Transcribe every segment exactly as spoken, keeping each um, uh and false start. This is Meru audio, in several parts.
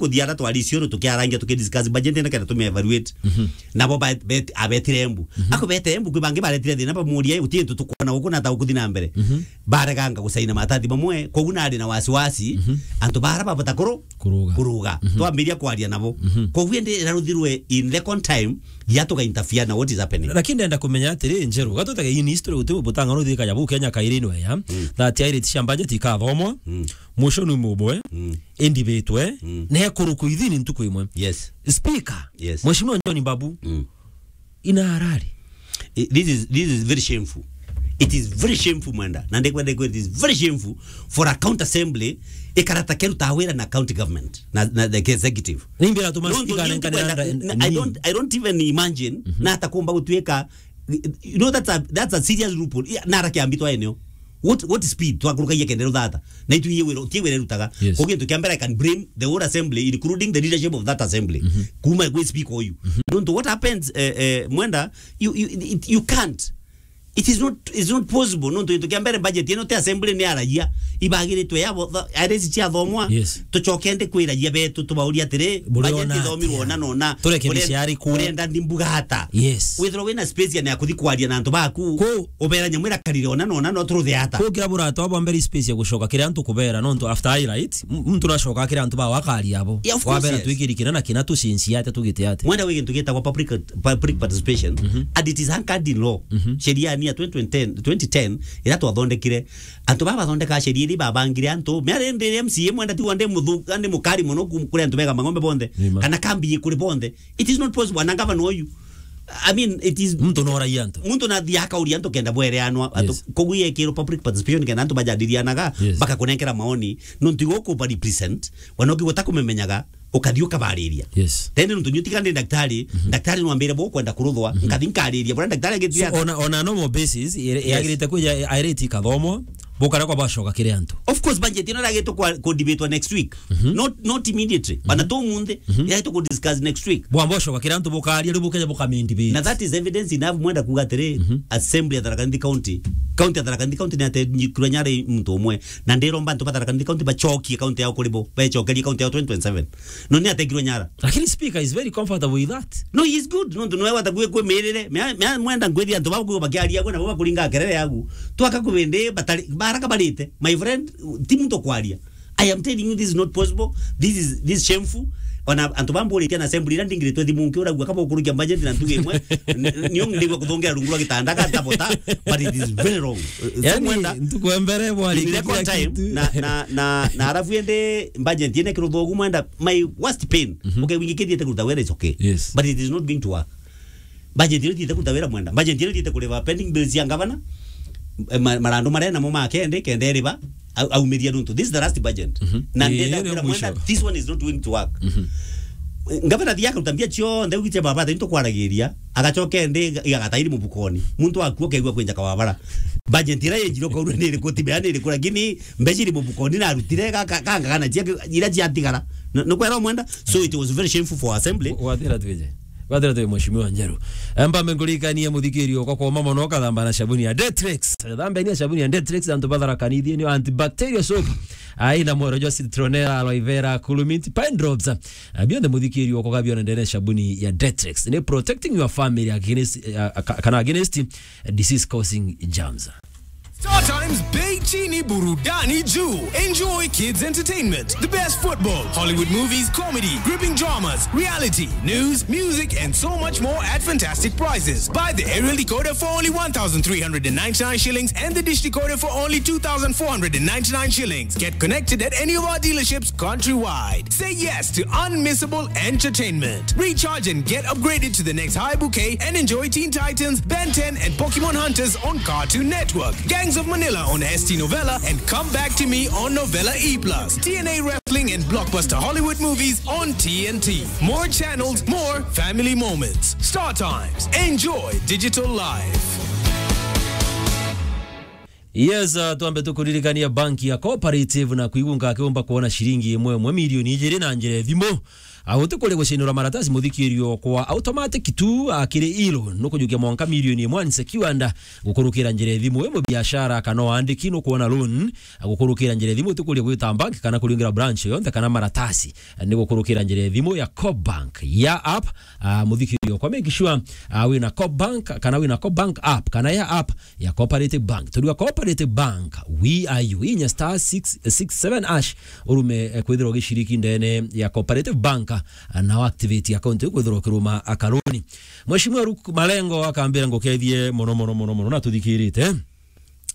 kuthia ara twari Isiolo tukiarangia, tukidiscuss budget na kenda tume evaluate. Mhm. Nabo ba-, bet-, abetire Embu. Mhm. Ako bete Embu, kwi bangi baretire thina, bamuria, "Uti ntu tukwona guku na ta ukuthi na mbere." Mhm. Bareganga gusaina matathi mamwe, koguo nari na wasiwasi, mhm, antu bara babota kuru-, kuruga. Kuruga. Mhm. Twambiria kwaria nabo. Mhm. Koguo indi iraruthirwe in record time, ya tuga interfere na what is happening. Lakini ndenda kumenya atiri, Njeru, gatutege in history, guti butanga ruthika ya bu Kenya kairi no ya, mm, that airiti cia budget ikathomwa, mm, motion ni mubwe, mm, indi bitwe, mm, ne kuruku ithini ntuku imwe. Yes. Speaker, yes, Mheshimiwa John Mbabu, mm, ina arari. I-, this is, this is very shameful. It is very shameful, Mwenda. Na ndikwenda ku, it is very shameful for a county assembly ikarata keruta wira na county government, na, na the executive. Nimbira tuma. No, speaker no, anenkanira nda-, n-, I don't, I don't even imagine, mhm, na hata kumba gutuika, you know, that's a, that's a serious loophole. Yeah, nara kiambi twa eneo. What, what speed twakurukagia kenda ruthata? Na itu iye wira, ti wira rutaga. Yes. Koguo gintu kia mbere, I can blame the whole assembly, including the leadership of that assembly. Mhm. Kuma kwi speaker uyu. Mhm. Nontu what happens, eh, eh, Mwenda, you, you, it, you can't. It is not, it's not possible. Nontu gintu kia mbere, budget ino ti assembly ni aragia. Ibagiritwe ya bo-, tha-, aresi cia thomwa. Yes. Tucoke ndi kwiragia betu, tubauria atiri, budget ithomirwe ona na ona. Tureke miciari ku. Urenda ndi mbuga ata? Yes. Withirwa wina space ya kuthi kwaria na antu baku. Ku. Ubera nyamu irakarire ona na ona, no turuthe ata? Ku kira burata bwa mbere space ya gucoka kiri antu kubera, nontu after highlight, m-, muntu nacoka kiri antu ba wakaria abo. Yeah, of course, wabera yes. Twikiri kina na kina tucinci ate tugite ate. Mwenda wi gintu gitagwa public, public participation, mhm, and it is anchored in law. Mhm. Sheria ni ya twenty ten, twenty ten, ira twathondekire. Antu baba bathondeka sheria iri babangire antu. Mea rindi M C A Mwenda ti wande muthu, ande mukari muno ku-, kuri antu bega mang'ombe bonthe. Nima. Kana kambi kuri bonthe. It is not possible. Ana gavana uyu. I mean, it is. Muntu no raia antu. Muntu na thia akauria antu kenda bwereanwa. Yes. Koguo yekirwo public participation kenda antu bajadilianaga, yes, bakakunenkera maoni. Nontu igo kuba represent, wana ukigota kumemenyaga, ukathi ukabariria. Yes. Tende nontu nyu tiga ndi daktari, mhm, daktari no ambire bo kwenda kuruthwa, mhm, nkathi nkariria. Bora daktari agitire. So, on a, on a normal basis, ire-, yes, yagirite kwija airiti kathomwa, bukara kwa bacoka kiri antu. Of course, budget ino iragitwo kwa, ku debatewa next week. Mhm. Not, not immediately. Mhm. Bana tu munthi, mhm, iragitwo ku discuss next week. Bwamba ucoka kiri antu bukaria, riu bukeja bukamindi bit. Na that is evidence enough Mwenda kuga atiri, mhm, assembly ya Tharaka Nithi County, county ya Tharaka Nithi County ni atenyikirwe nyara i muntu umwe. Na ndiromba antu ba Tharaka Nithi County bacokie county yao kuri bo, becokerie county yao twenty twenty-seven. No ni ategirwe nyara. Lakini speaker is very comfortable with that. No, he is good. Nontu noe wata kwi kwi mirire. Mea, mea Mwenda ngwithia antu bau kwi bakiaria gwe na bo bakuringa kerere yagu. Twaka kubindi batari, baraka barite. My friend, ti muntu kwaria. I am telling you, this is not possible. This is, this is shameful. Ona antu bamburitie na assembly ira ndingiritwe thimu nki uragua kaba ukurukia budget na ntuge imwe. N-, n-, nio ndigwa kuthongera rungu rwa gitanda ka tabota, but it is very wrong. So yani, Mwenda, ntuku ya mbere bwari in record time, na, na, na, na arafu ende budget ine kiruthogu Mwenda, my worst pain. Mhm. Okay, wingi kithite kuruta wera is okay. Yes. But it is not going to work. Budget ino ithiite kuruta wira Mwenda. Budget ino ithiite kuriva pending bills cia ngavana. Eh, ma-, marandu maria namo ma kende, kenda eriva, au-, aumiria nontu. This is the last budget. Mhm. Na ii, ndenda kwira Mwenda, this one is not going to work. Mhm. Eh, ngavana thia akaruta mbia cionthe, ugitia baba, thaini tukwaragiria, agacoka ende iga-, igagata iri mubukoni. Muntu akua kegua kwinja kawabara. Budget ira yenjirwo kaurwe ni iriku, timea ni iriku, lakini mbeca iri mubukoni na arutire ga-, ga-, ganga kana cia, ira ciatigara. N-, nukwera Mwenda? So it was very shameful for assembly. Wa-, wathira twije. Wathira twi Mheshimiwa Njeru. Mpambe nkurikanie muthikiri okwa kuuma mono, ukathamba na sabuni ya Detrex. Thambeni na sabuni ya Detrex, antu ba Tharaka Nithi, ni antibacterial soap. Aina mwero jwa citronella, aloe vera, cool mint, pine drops. Ah, bionthe muthikiri okwa gabiona ndene sabuni ya Detrex. Ni protecting your family against, ah, ka-, kana against disease causing germs. Star Times, bei chini, burudani juu. Enjoy kids entertainment, the best football, Hollywood movies, comedy, gripping dramas, reality, news, music, and so much more at fantastic prices. Buy the aerial decoder for only one thousand three hundred and ninety-nine shillings and the dish decoder for only two thousand four hundred and ninety-nine shillings. Get connected at any of our dealerships countrywide. Say yes to unmissable entertainment. Recharge and get upgraded to the next high bouquet and enjoy Teen Titans, Ben ten, and Pokemon Hunters on Cartoon Network, Gangs of Manila on S T Novella, and Come Back to Me on Novella E plus, T N A Wrestling and blockbuster Hollywood movies on T N T. More channels, more family moments. Star Times. Enjoy digital life. Yes, uh, twambe tukuririkania banki ya Cooperative na kwigunga akiumba kuona ciringi imwe imwe milioni ijiri na njira ya thimu. A, utikuria gucinirwa maratasi, muthikirio kwa automatic tu, a, kiri e-loan, nukujukia mwanka milioni imwe unsecured, gukurukira njira ya thimu, wi mubiashara kana waandiki, nukwona loan, a, gukurukira njira ya thimu, utikuria gwita bank kana kuringira branch yonthe kana maratasi, a, ni gukurukira njira ya thimu ya Coop Bank ya app, a, muthikirio kwa make sure, a, wina Coop Bank kana wina Coop Bank app kana ya app ya Cooperative Bank. Turiwa Cooperative Bank, we are you. Inya star six six seven hash, urume, eh, kwithirwa ugiciriki ndene ya Cooperative Bank, ah, na activate account iu kwithirwa ukiruma akaruni. Mheshimiwa Luke Malengo akambira ngukethie mono, mono, mono, mono, na tuthikirite.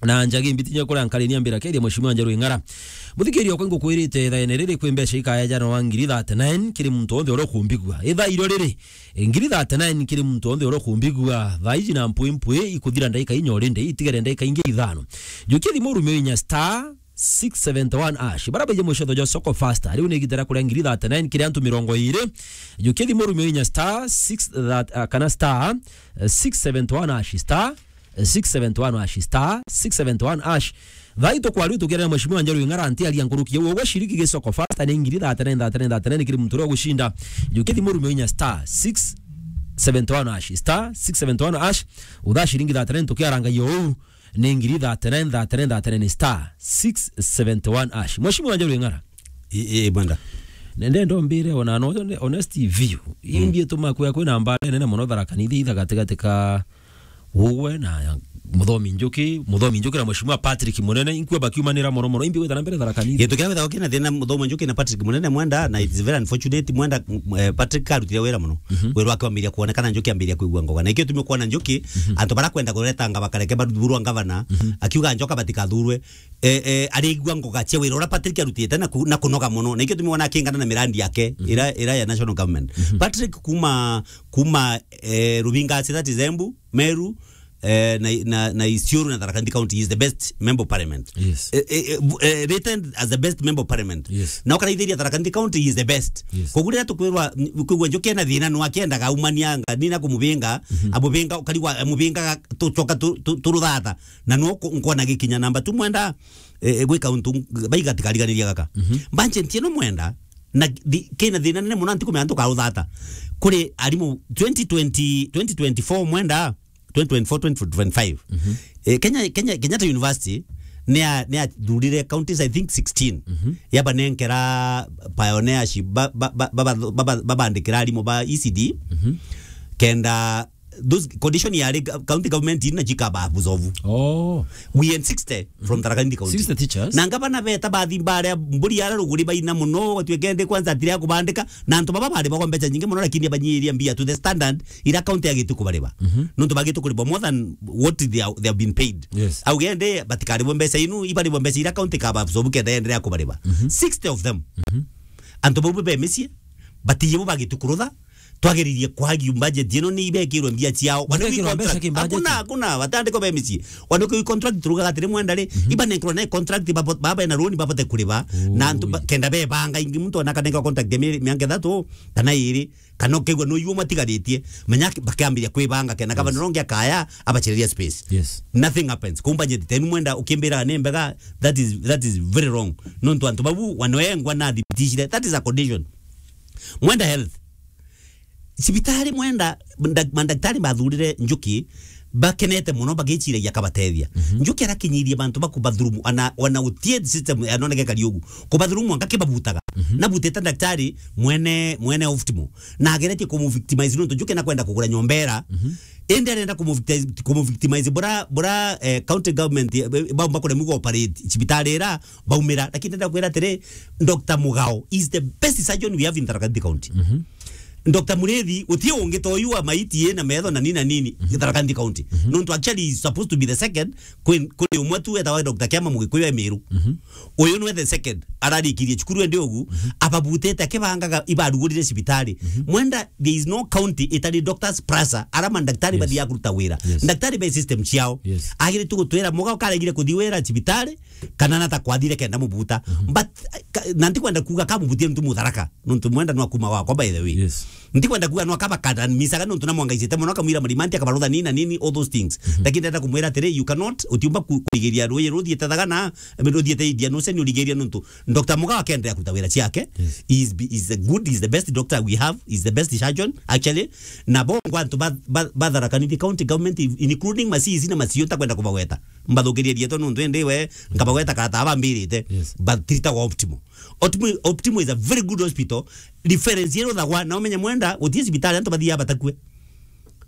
Na njagi mbitinya kuria nkari niambira kethia Mheshimiwa Njeru Ing'ara. Muthikiria okwa ngukwirite ithaene riri kwi mbeca ikaya jana wa ngiri thirty-nine kiri muntu onthe uria ukumbigua. Ithairo riri, ngiri thirty-nine kiri muntu onthe uria ukumbigua. Thaa iji na mpwi mpwi ikuthira ndaika inya urinde, itigere ndaika ingi ithano. Jukia thimu urumio inya star six seventy-one hash. Bara baije mucetho jwa Soko Fasta. Riu ni igita ria kuria ngiri thirty-nine kiri antu mirongo iri. Jukia thimu urumio inya star six that, uh, kana star, uh, six seventy-one hash, star six seventy-one hash, star six seventy-one hash. Thaa ii tukwari tukiaria na Mheshimiwa Njeru Ing'ara, ntiaria nkuruki ya uguo, ciriki gi Soko Fasta ni ngiri thirty-nine, thirty-nine, thirty-nine kiri muntu uria ugucinda. Jukia thimu urumio inya star six seventy-one hash, star six seventy-one hash. Uthaa ciringi thirty-nine tukiarangagia uu ni ngiri thirty-nine, thirty-nine, thirty-nine star six seventy-one hash. Mheshimiwa Njeru Ing'ara. I, i, bwenda. Nende ndombire ona no honest view. Mm. Imbi ituma kwia kwina mbara nene mono Tharaka Nithi itha gatigati ka Ugwe na Muthomi Njuki, Muthomi Njuki na Mheshimiwa Patrick Munene, inkua bakiumanira mono mono, imbi gwita na mbere Tharaka Nithi. Gintu kiria withaga kina thina Muthomi Njuki na Patrick Munene mwenda, na it's very unfortunate, mwenda, mm, eh, Patrick arutire wira mono. Mhm. Wira wake wambiria kuonekana, Njuki ambiria kwigua ngoga. Na ikio tumwe kuona Njuki, mhm, antu bara kwenda kuretanga bakareke bathurwa ngavana, mhm, akiuga Njoka batikathurwe, eh, eh, arigua ngoga cia wira uria Patrick arutite na ku-, na kunoga mono. Na ikio tumwe wona akingana na mirandi yake, mhm, ira, ira ya national government. Mhm. Patrick kuma, kuma, eh, Rubingasi, that is Embu, Meru, eh, na, na, na Isiolo na Tharaka Nithi County, he is the best member of parliament. Yes. Eh, eh, eh, bu-, eh, rated as the best member of parliament. Yes. Na ukaraithiria Tharaka Nithi County, he is the best. Yes. Koguo riria tukwirwa, kwigua Njuki ena thina, no akiendaga aumania anga, nina kumubinga, mhm, amubinga, ukarigwa, amubingaga, tucoka tu-, tu-, turuthatha. Na no ku-, nkona gikinya namba tu mwenda, eh, eh, gwika untu ng-, baiga tikarigariria gaka. Mhm. Budget ino mwenda, na thi-, kina thina nene mono, ntikumenya ntukaruthata. Kuri arimu twenty twenty, twenty twenty-four mwenda, twenty twenty-four, twenty twenty-five. Mhm. Eh, Kenya, Kenya, Kenyatta University ni ya, ni yathurire counties, I think, sixteen. Mhm. Yabanenkera pioneership, ba, ba, ba, ba, ba, ba, babandikira arimu ba E C D. Mhm. Kenda those condition yari ga-, county government ina chikaba absorb. Oh. We had sixty from Tharaka Nithi County. Sixty teachers? Na ngavana beta bathi baria mburi ara ruguri baina muno, watuike ndi kwanza atire akubandika, na antu baba bari bagwa mbeca nyingi muno, lakini abanyiria mbia to the standard ira county yagite kubariba. Mhm. Nontu bagite kuribwa more than what they are, they have been paid. Yes. Auge ndi batikaribwe mbeca inu, ibaribwe mbeca ira county kaba absorb kenda yenderea kubariba. Mhm. Sixty of them. Mhm. Antu bau be micii, batiye bo bagite kurutha, twageririe kwagi budget ino ni ibekirwe mbia ciao. Wana contract. Hakuna, hakuna, batandikwa be micii. Wana contract turugaga atiri mwenda ri, mhm, ibanenkerwa na contract babo-, baba na loan babote kuriba. Na antu ba-, ui, kenda bebanga ingi muntu ona kanenkerwa contract ya mi-, miaka ithatu kana iri, kana ukegwa no yuo matigaritie, menya ki-, bakiambiria kwibanga kenda kaba, yes, nongi akaya abachereria space. Yes. Nothing happens. Kumba budget tenu mwenda ukimbira ni mbega, that is, that is very wrong. Nontu antu babu wanoengwa na thibitishire. That is a condition. Mwenda health. Cibitari mwenda, nda-, mandaktari mathurire Njuki, bakenete muno bagiciragia akabatethia. Mhm. Njuki arakinyirie bantu bakubathurumu, ana, ona utie system anoneke kari ugu. Kubathurumu anga kibabutaga. Mhm. Nabutite ndaktari mwene, mwene optimal. Na ageretie kumuvictimize nontu Njuki nakwenda kugura nyomba ira. Mhm. Indi arenda kumuvictimize, kumuvictimize bura, bura, eh, county government, eh, baumba kuremwa gu operate cibitari ira, baumira. Lakini ndenda kwira atiri, Doctor Mugao is the best surgeon we have in Tharaka Nithi County. Mhm. Doctor Murithi, utie ungi ta uyu wa maiti na metho na nini na nini, mhm, Tharaka Nithi County. Mhm. Nontu actually is supposed to be the second, kwi, kuri umwe tu wetagwa Doctor Kiama Mugikuyu e Meru. Mhm. Uyu nwe the second, ararikirie cukuru endi ugu, mhm, ababutite akibangaga ibarugurire cibitari. Mhm. Mwenda, there is no county itari doctors plus ara mandaktari, yes, bathiaga kuruta wira. Yes. Ndaktari be system ciao. Yes. Agire tu gutwira Mugao karegire kuthi wira cibitari, kana nata kwathire kenda mubuta. Mhm. But, ka-, na ntikwenda kuuga kamubutie ntu Mutharaka, nontu mwenda no akuma wakwa, by the way. Yes. Ntikwenda kuuga no akabakata misaga nontu na mwangaicite mono, akamwira mrimanti, akabarutha nini na nini, all those things. Mhm. Lakini ndenda kumwira atiri, you cannot, utiumba ku-, kurigiria ruuji ruthiite Thagana, ruthiite Indian Ocean, urigiria nontu Doctor Mugawa akeenderea kuruta wira ciake. Yes. He is, he is a good, he is the best doctor we have, he is the best surgeon, actually. Na bongo antu ba, ba, ba Tharaka Nithi County Government, including ma C E C na ma C E O, ntakwenda kubagweta. Mbathukirie rietwa nontu indi we, nkabagweta kata abambirite. Yes. But tirita wa Optimo. Optimo, Optimo is a very good hospital. Reference yero thagwa, na umenye Mwenda, guti cibitari antu bathiaga batakue.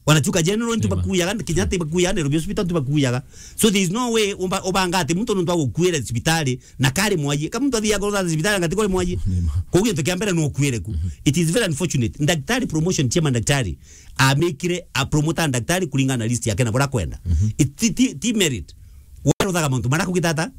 Wanachuka General ntu bakuyaga, Kenyatta bakuyaga, Nairobi Hospital ntu bakuyaga. So there is no way umba-, ubanga ati muntu nontu agukuire cibitari na kari mwaji. Ka muntu athiaga kurutha cibitari ngati kuri mwaji. Nima. Koguo gintu kia mbere no ukuire ku. Mhm. It is very unfortunate. Daktari promotion cia mandaktari, amikire a promoter daktari kuringana na list yake na bura kwenda. Mhm. It, ti, ti, ti merit. Waruthaga mantu mara kugitata.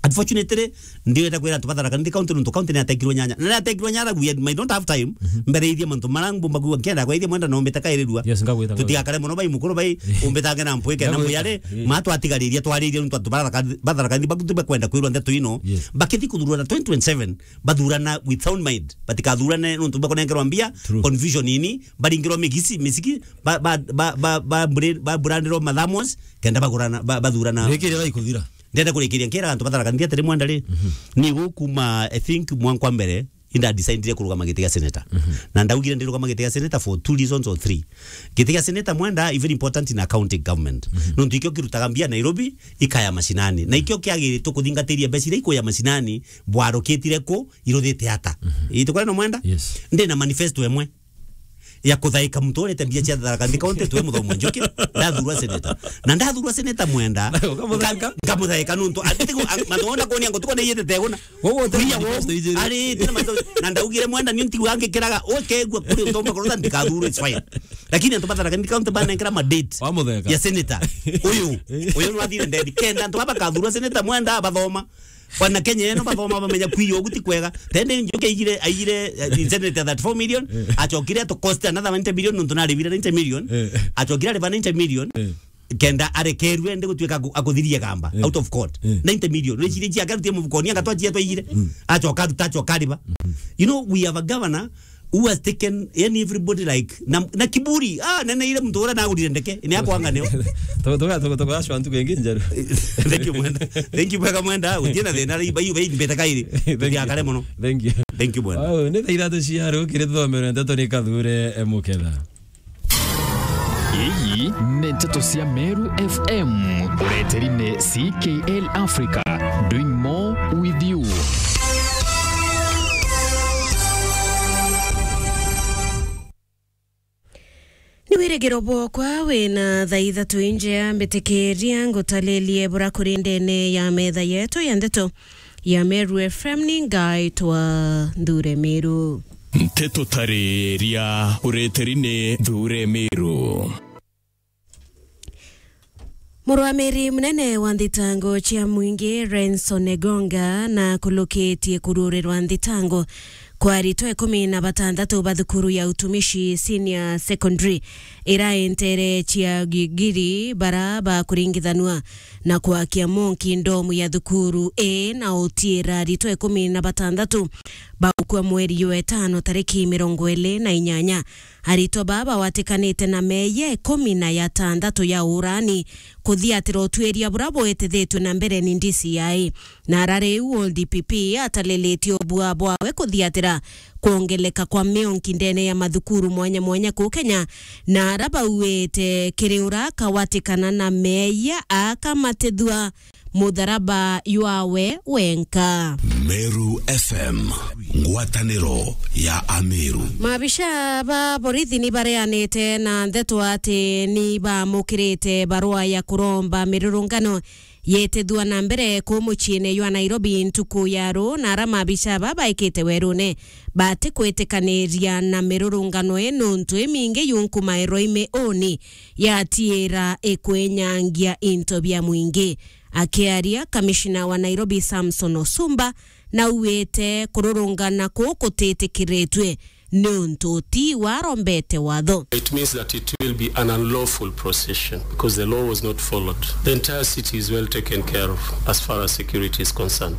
Unfortunately, ndiwete kwira antu ba Tharaka Nithi County nontu county ni yatekirwe nyanya. Na yatekirwe nyanya, we might not have time, mhm, mbereithie mantu mara mbumba kuuga, nkenda kwaithia Mwenda na umbite kairirua. Yes, ngagwita, ngagwita. Tutigakare mono bai mukuru bai, umbitange na mpwike na mbuyare, eh, ma twatigariria twaririe nontu antu ba Tharaka, ba Tharaka Nithi baku tibakwenda kwirwa ndeto ino. Yes. Bakithi kuthurana twenty twenty-seven, bathurana with sound mind. Batikathurane nontu bakunengerwa mbia, true, confusion ini, baringirwa migisi, misiki, ba, ba, ba, ba, ba, bure-, ba burandirwa mathamos, kenda bagurana, ba, bathurana. Rikiri gaikuthira. Ndenda kurikiria nkira antu ba Tharaka Nithi atiri Mwenda ri, mhm, ni gukuma, I think, mwanka mbere, inda decidire kurugama giti gia senator. Mhm. Na ndaugire ndirugama giti gia senator for two reasons or three. Giti gia senator Mwenda, even important in a county government. Mhm. Nontu ikio kirutaga mbia Nairobi, ikaya mashinani. Na ikio kiagiritwe kuthingatiria mbeca iria ikuya mashinani, bwarukitire ku, iruthite ata. Mhm. Itukwenda Mwenda? Yes. Ndina manifesto emwe ya kuthaika muntu urite mbia cia Tharaka Nithi County, twi Muthomo Njuki, ndathurwa senator. Na ndathurwa senator Mwenda, ukamuthaika? Nga-, nkamuthaika nontu, ati ku-, a-, mantu ona kuonia ngutuko ni yite teguna. Wowo uti kuria manifesto ijiri. Ari, tina manifesto. Na ndaugire Mwenda, ni ntigu angikiraga, ukegua kuri utomba kurutha, ndikathurwa, it's fine. Lakini antu ba Tharaka Nithi County banenkera ma date. Wamutheka? Ya senator. Uyu, uyu nwathire ndedi. Kenda antu baba kathurwa senator Mwenda, bathoma. Wana Kenya ino bathoma bamenya kwi ugu ti kwega. Tende Njuki aigire, aigire, eh, incentive ya thirty-four million, eh, achokire to cost another ninety million, nontu narivire ninety million. Eh. Achokire ariva ninety million. Eh. Kenda arekerue ndi gutuika aku-, akuthirie gamba, eh, out of court. Eh. Ninety million. Reciria ciake arutie mufukoni, angatwa cia twaigire. Mm. Achoka aruta, achoka ariva. Mm. You know, we have a governor who has taken, yani, everybody, like, na, na kiburi. Ah, nene ile muntu ura nagurire ndeke, ni akwanga neo. Tuga, tuga, tuga, tuga, ashwa ntuku ingi njeru. Thank you, Mwenda. Thank you, bwega Mwenda. Utie na thina, bai, bai, bai, mbeta kairi. Thank you. Tugiakare mono. Thank you. Thank you, Mwenda. Wow, ni thaa ithatu cia rukiri tuthomere ndeto ni Kathure, eh, Muketha. Iyi ni nteto cia Meru F M, ureteri ni C K L Africa, doing more with you. Ni wirigiro bwokwa wina thaa ithatu injea, mbitikiria ngutalilie bura kuri ndene ya metha yetu ya ndeto ya Meru F M. Ni ngaitwa Nthure Miru. Nteto tariria ureteri ni Nthure Miru. Murwamiri munene wa nthitango cia mwingi Renson Egonga na kulukitie kururirwa nthitango kwa aritwa ikumi na batandatu ba thukuru ya utumishi senior secondary iraentere cia Gigiri bara bakuringithanua na kwakia monki ndomu ya thukuru ii na utiira aritwa ikumi na batandatu baukua mweri jwa etano tariki mirongo iri na inyanya. Aritwa baa bawatikanite na meeyia ikumi na jatandatu ya urani kuthiatira utwiria bura bwitithitue na mbere ni D C I. Na ara riu D P P atalilitie ubua bwawe kuthiatira kwongeleka kwa mionki ndene ya mathukuru mwanya mwanya kuu Kenya, na ara bauite kiri ura kawatikana na meeyia akamatithua mutharaba jwawe wenka. Meru F M, ngwataniro ya Ameru. Maabisha ba borithi ni bareanite na ndeto ati ni baamukirite barua ya kuromba mirurungano yitithua na mbere kuu muciine jwa Nairobi ntuku ya ruu, na ara maabisha ba baikite werune batikwitikaniria na mirurungano ii nuntu imingi yunkumairwa imiuni yatiira ikwinyangia into bia mwingi. Akiaria, kamishina wa Nairobi Samson Osumba nauite kururungana kuu kutitikiritue niuntu ti warombete watho. It means that it will be an unlawful procession because the law was not followed. The entire city is well taken care of as far as security is concerned.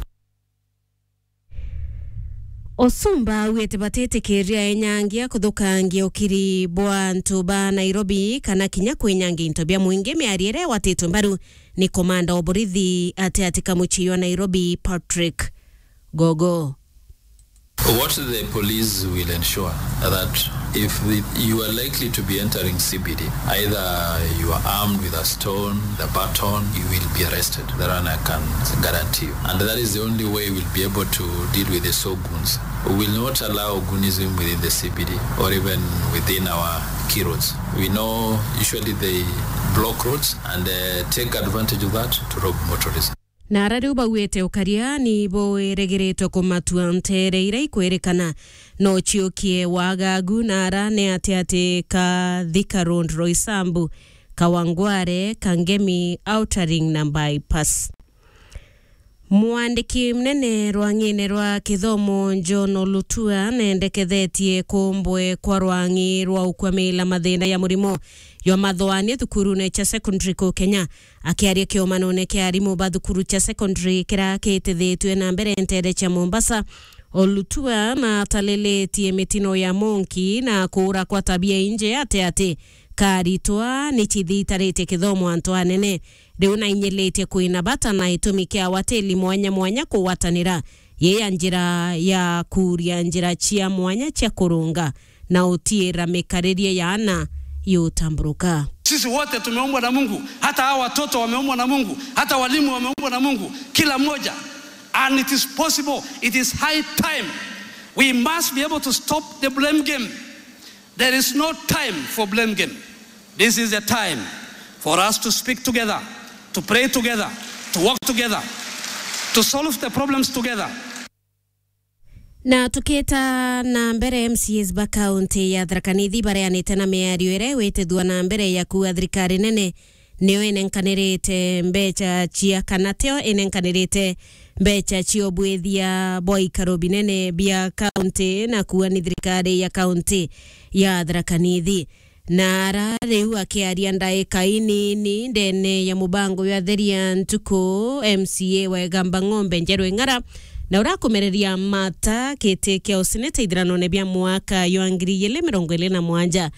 Osumba augite batitikiria enyangia kuthukangia ukiri bwa antu ba Nairobi kana kinya kwinyangia into bia mwingi, miario iria igwatitwe mbaru ni komanda wa borithi ati ati ka mucii wa Nairobi, Patrick Gogo. What the police will ensure that if the, you are likely to be entering C B D, either you are armed with a stone, the baton, you will be arrested. That one I can guarantee you. And that is the only way we'll be able to deal with the sogoons. We will not allow goonism within the C B D or even within our key roads. We know usually they block roads and, uh, take advantage of that to rob motorists. Na ara riu bauite ukaria ni bwirigiritwe kumatua nteere iria ikwirikana no ciukie wagagu, na ara ni ati ati ka Thika Road, Roysambu, Kawangware, Kangemi, Outer Ring na Bypass. Mwandiki munene rwang'ine rwa kithomo John Olutua nendekethetie kumbwe kwa rwang'i rwa ukwamila mathina ya murimo jwa mathoania thukurune cia secondary ku Kenya. Akiaria kiomanone kia arimu ba thukuru cia secondary kiria kitithitue na mbere nteere cia Mombasa, Olutua natalilitie mitino ya monki na kuura kwa tabia inje ati ati ka aritwa ni cithitaritie kithomo antu anene. Riu nainyilitie kwina bata na itumi kia watili mwanya mwanya kugwatanira, yi ya njira ya kuuria njira cia mwanya cia kurunga na utiira mikaririe ya ana yutamburuka. Sisi wote tumeumbwa na Mungu, hata hawa watoto wameumbwa na Mungu, hata walimu wameumbwa na Mungu, kila mmoja. And it is possible, it is high time. We must be able to stop the blame game. There is no time for blame game. This is the time for us to speak together, to pray together, to work together, to solve the problems together. Na tukita na mbere, M C As ba kaunti ya Tharaka Nithi bareanite na miario iria igwitithua na mbere ya kuuga thirikari nene niyo inenkanirite mbeca cia, kana tio inenkanirite mbeca cia ubwithia bwa ikaro binene bia kaunti, na kuuga ni thirikari ya kaunti ya Tharaka Nithi. Na ara riu akiaria ndaika inini ndene ya mubango jwa Theria Ntuku, M C A wa Igamba Ng'ombe Njeru Ing'ara, na urakumereria mata kiti kia useneta ithiranone bia mwaka jwa ngiri igiri mirongo iri na mwanja,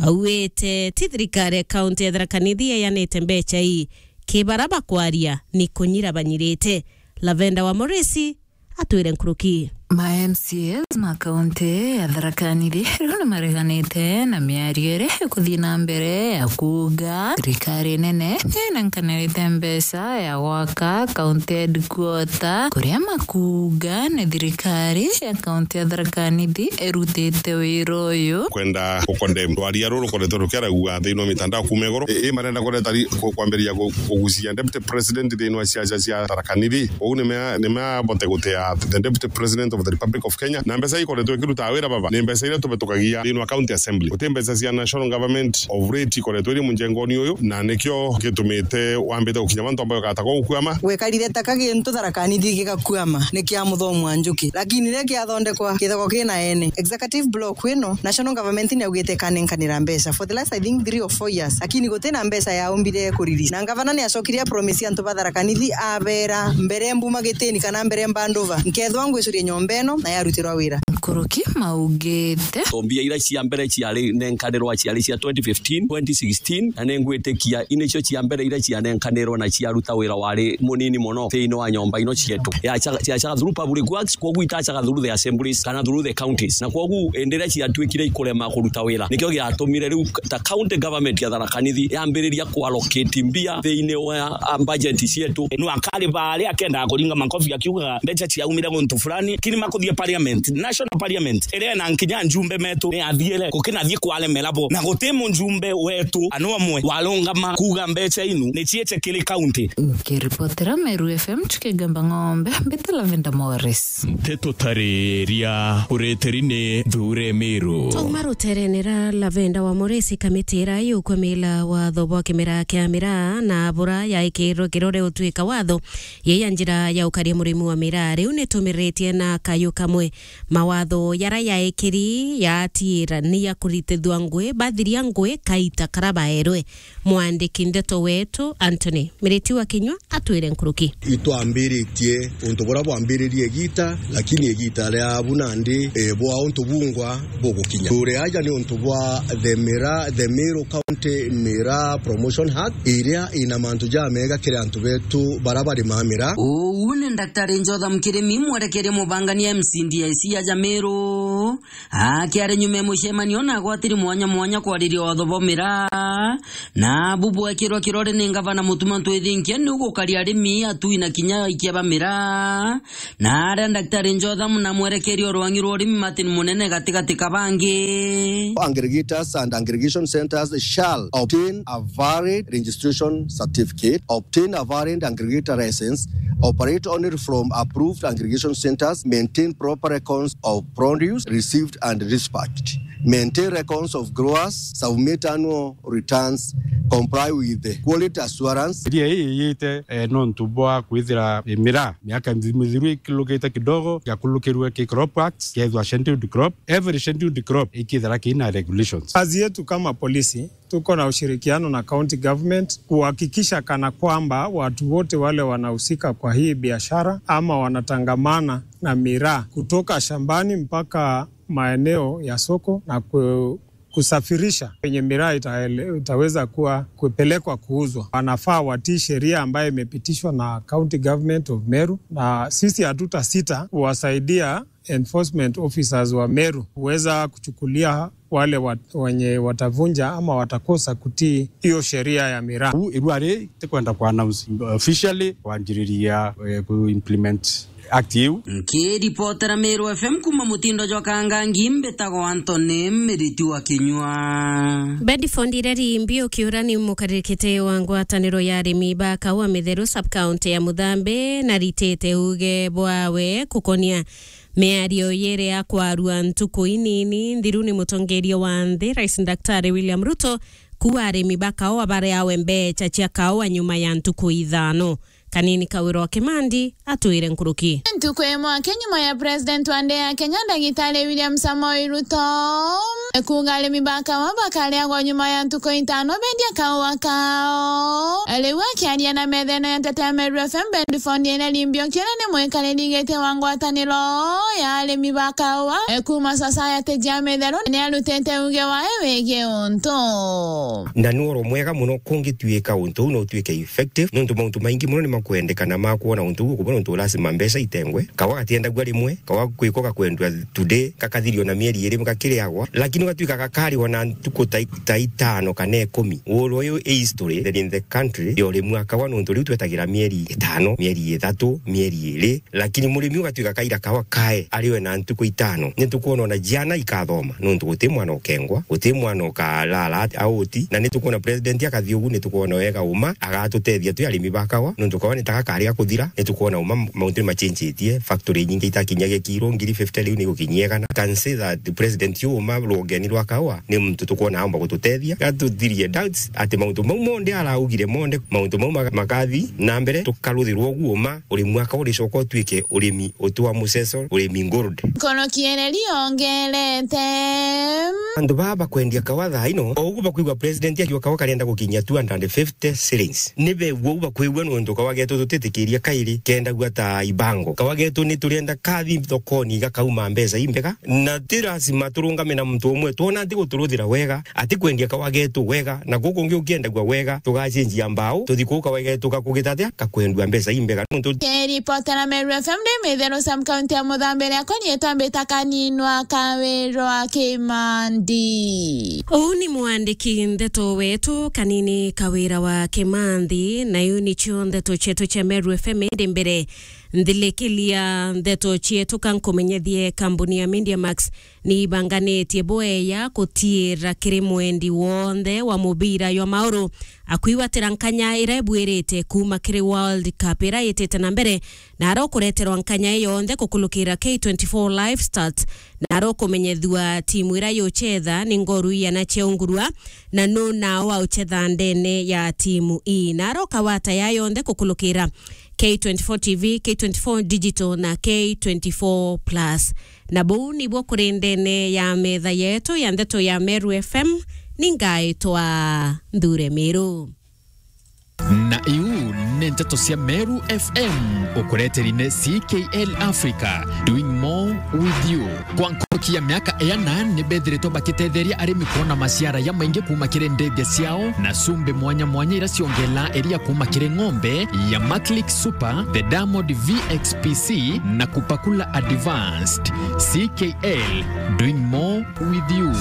auite ti thirikari ya kaunti ya Tharaka Nithi yeanite mbeca ii, ki bara bakwaria ni kunyira banyirite. Lavenda wa Morisi atwire nkuruki. Ma M C As ma kaunti ya Tharaka Nithi riu ni mareganite na miario iria ikuthii na mbere ya kuuga thirikari nene ni inenkanirite mbeca ya gwaka kaunti headquarter, kuria makuuga ni thirikari ya kaunti ya Tharaka Nithi irutite wira uyu. Kwenda gukondem rwaria ruru rukoretwe rukiaragua thiini wa mitandao kuuma iguru, i, i marenda kureta ri-, ku-, kwambiriria ku-, kugucia Deputy President thiini wa ciaca cia Tharaka Nithi. Uu ni mea-, ni mea bote gutea the Deputy President of the Republic of Kenya. Na mbeca ikoretwe ikiruta wira baba, ni mbeca iria tubitukagia thiini wa County Assembly. Guti mbeca cia National Government of late ikoretwe iri munjengoni uyu, na nikio gitumite wambite gukinya mantu ambayo gatagwa gukwama. Gwekarire ta ka gintu Tharaka Nithi gigakwama, ni kia muthomo wa njuki. Lakini riria kiathondekwa, githagwa kina ene. Executive block ino, National Government ni augite ikanenkanira mbeca for the last, I think, three or four years, lakini gutina mbeca yaumbire kuriri. Na ngavana ni acokire a promise antu ba Tharaka Nithi, abera, "Mbere mbuma gitini kana mbere mbandova, nkethwa ngwicuria nyomba ino na yarutirwa wira." Nkuruki maugite. To mbia iria cia mbere ciari nenkanirwa ciari cia twenty fifteen, twenty sixteen, na ningwitikia inicio cia mbere iria cianenkanirwa na ciaruta wira wari munini mono thiini wa nyomba ino cietu. Yacaga, yacaga through public works, kwoguo itacaga through the assemblies kana through the counties. Na kwoguo indi iria ciatuikire ikurema kuruta wira, nikio giatumire riu ta county government ya Tharaka Nithi yambiriria kuallocate mbia thiini wa, ah, budget cietu. No akari baari akendaga kuringa makofi akiugaga mbeca ciaumire guntu fulani, lakini makuthie parliament, national parliament, iria ina nkinya njumbe metu ni athiire, gukinathie kwaremera bo. Na guti mujumbe wetu ana umwe warungama kuuga mbeca inu ni ciice kiri county. Nkiripotera Meru F M, Chuki Gamba Ng'ombe, mbite Lavenda Morris. Nteto tariria ureteri ni Nthure Meru. Twauma ruterene ra Lavenda wa Morris, kamiti iria yukwamila watho bwa kimera kia miraa na bura yaikirwe kirore utuika watho, yei ya njira ya ukaria murimi wa miraa. Riu nitumiritie na kayu kamwe. Mawatho yara yaekiri yatiira ni ya kuritithua ngui, bathiria ngui kaita kara baerwe. Mwandiki ndeto wetu Anthony Miriti wa Kinyua atwire nkuruki. Itwambiritie untu buria bwambiririe igita, lakini igita ria bu nandi, eh, bwa untu bungwa bugukinya. Turi aja ni untu bwa the Miraa, the Meru County Miraa Promotion Act, iria ina mantu jamega kiri antu betu bara barimaa miraa. Uu ni Daktari Jotham Kirimi, mwerekeria mubangania M C D I C ya Jameru, akiari nyuma ya mucemanio na agwatiri mwanya mwanya kwariria watho bwa miraa, na bu bwekirwa kirore ni ngavana Mutuma Ntwithinkia ni ugukaria arimi atui na kinya aikia ba miraa, na aria Daktari Jotham na mwerekeria urwangi rwa urimi Martin Munene gatigati ka bangi. Aggregators and aggregation centers shall obtain a valid registration certificate, obtain a valid aggregator license, operate only from approved aggregation centers, maintain proper records of produce received and dispatched, maintain records of growers, submit annual returns, comply with the quality assurance. Sheria hii iyite, eh, nontu bwa kwithira, eh, miraa miaka mithiru ikilukite kidogo, yakulukirwe ki Crop Act, kethwa scheduled crop. Every scheduled crop ikithira kina regulations. Kazi yetu kama polisi, tuko na ushirikiano na county government kuhakikisha kana kwamba watu wote wale wanahusika kwa hii biashara ama wanatangamana na miraa kutoka shambani mpaka maeneo ya soko na ku-, kusafirisha kwenye miraa itaele-, itaweza kuwa kupelekwa kuuzwa, wanafaa watii sheria ambayo imepitishwa na County Government of Meru, na sisi hatutasita kuwasaidia enforcement officers wa Meru kuweza kuchukulia wale wa-, wenye watavunja ama watakosa kutii hiyo sheria ya miraa. Uu irua ri tikwenda ku announce officially kwanjiriria, eh, ku implement act iu. Nkiripotera Meru F M kuma mutindo jwa Kangangi, mbitagwa Anthony Miriti wa Kinyua. Bedford Ireri Mbi ukiura ni mukaririkite wa ngwataniro ya arimi ba kaua mitheru sub-county ya Muthambe na ritite uge bwawe kukonia miario yere ya kwarua ntuku inini nthiru ni mutongeria wa nthi, Rais Daktari William Ruto, kuwa arimi ba kaua bareawe mbecha cia kaua nyuma ya ntuku ithano. Kanini Kawira wa Kimandi atwire nkuruki. Ntuku imwe aki nyuma ya President wa nthi ya Kenya, Ndagitari William Samoei Ruto, kuuga arimi ba kaua bakareagwa nyuma ya ntuku itano bendia kaua kao. Riu akiaria na methene ya nteto ya Meru F M, Bedford Ireri Mbi ukiura ni mwikariri giti wa ngwataniro ya arimi ba kaua, e, kuma Society jia Mitheru, ni arutite uge wae wigii untu. Na ni oro mwega muno kungituika untu uu no utuike effective, nontu mauntu maingi muno ni makwendekana ma kwona untu uu ukubona untu lazima mbeca itengwe. Kawa gatiendagua rimwe, kawa kwiko gakwendwa today, gakathirio na mieri iri gakiriagwa, lakini ugatuika gakariwa na ntuku ta i-, ta itano kana ikumi. Oro uyu i history in the country ya urimi wa kawa, nontu riu twetagira mieri itano, mieri ithatu, mieri iri, lakini murimi ugatuika kaira kawa kae ariwe na ntuku itano. Ni tukwona ona ciana ikathoma, nontu guti mwana ukengwa, guti mwana ukarara aoti, na ni tukwona president akathi ugu, ni tukwona wega uma agatutethia twi arimi ba kawa, nontu kawa ni ta gakari gakuthira, ni tukwona uma mauntu ni machenjitie, factory nyingi itakinyagia kiro ngiri fifty, riu ni gukinyia igana. I can say that the president uyu uma rwongeni rwa kawa ni muntu tukwona aomba gututethia, gatuthirie doubts ati mauntu mau monthe araugire monthe, mauntu mau ma-, makathi na mbere, tukaruthirwa ugu uma, urimi wa kawa uricoka utuike urimi uti wa muceco, urimi gold. Nkono kiererio ongerete. Antu baa bakwendia kawa thaa ino, o ugu bakwigua president akiuga kawa karenda gukinyia two hundred and fifty shillings. Ni begua u bakwigua nontu kawa getu tutitikiria kairi kendagua ta ibango. Kawa getu ni turienda kathi thokoni gakauma mbeca imbega, na ti lazima turungame na muntu umwe. Twona ati guturuthira wega, ati kwendia kawa getu wega, na guku kungi ukiendagua wega, tugacenjia mbao, tuthi kuu kawa getu gakugita atia, gakwendua mbeca imbega. Nontu kiripotera Meru F M ndi Mitheru sub county ya Muthambe, riakwa riitwa mbita Kaninwa Kawirwa Kimandi. Uu ni mwandiki ndeto wetu Kanini Kawira wa Kimanthi, na iu nicio ndeto cietu cia Meru F M. Indi mbere nthilikiria ndeto cietu, ka nkumenyethie kambuni ya Media Max ni ibanganitie bweya kutiira kiri mwendi wonthe wa mubira jwa mauru akwigwatira nkanya iria ibuirite kuuma kiri World Cup iria itite na mbere, na arokureterwa nkanya ii yonthe kukulukira K twenty-four Live Stats, na arokumenyethua timu iria yuchetha ni ngoru iana cia ungurua, na nu nao auchetha ndene ya timu ii, na aroka wata ya yonthe kukulukira K twenty-four T V, K twenty-four Digital na K twenty-four Plus. Na buu nibuo kuri ndene ya metha yetu ya ndeto ya Meru F M, ningaitwa Nthure Miru. Na iu ni nteto cia Meru F M, ukureteri ni C K L Africa, doing more with you. Kwa nkuruki ya miaka iana, ni bethiritwe bakitetheria arimi kwona maciara jamaingi kuuma kiri ndithia ciao, na cumbi mwanya mwanya iria ciongelaa iria kuuma kiri ng'ombe ya Maclick Super, the Diamond V X P C, na Kupakula Advanced. C K L, doing more with you.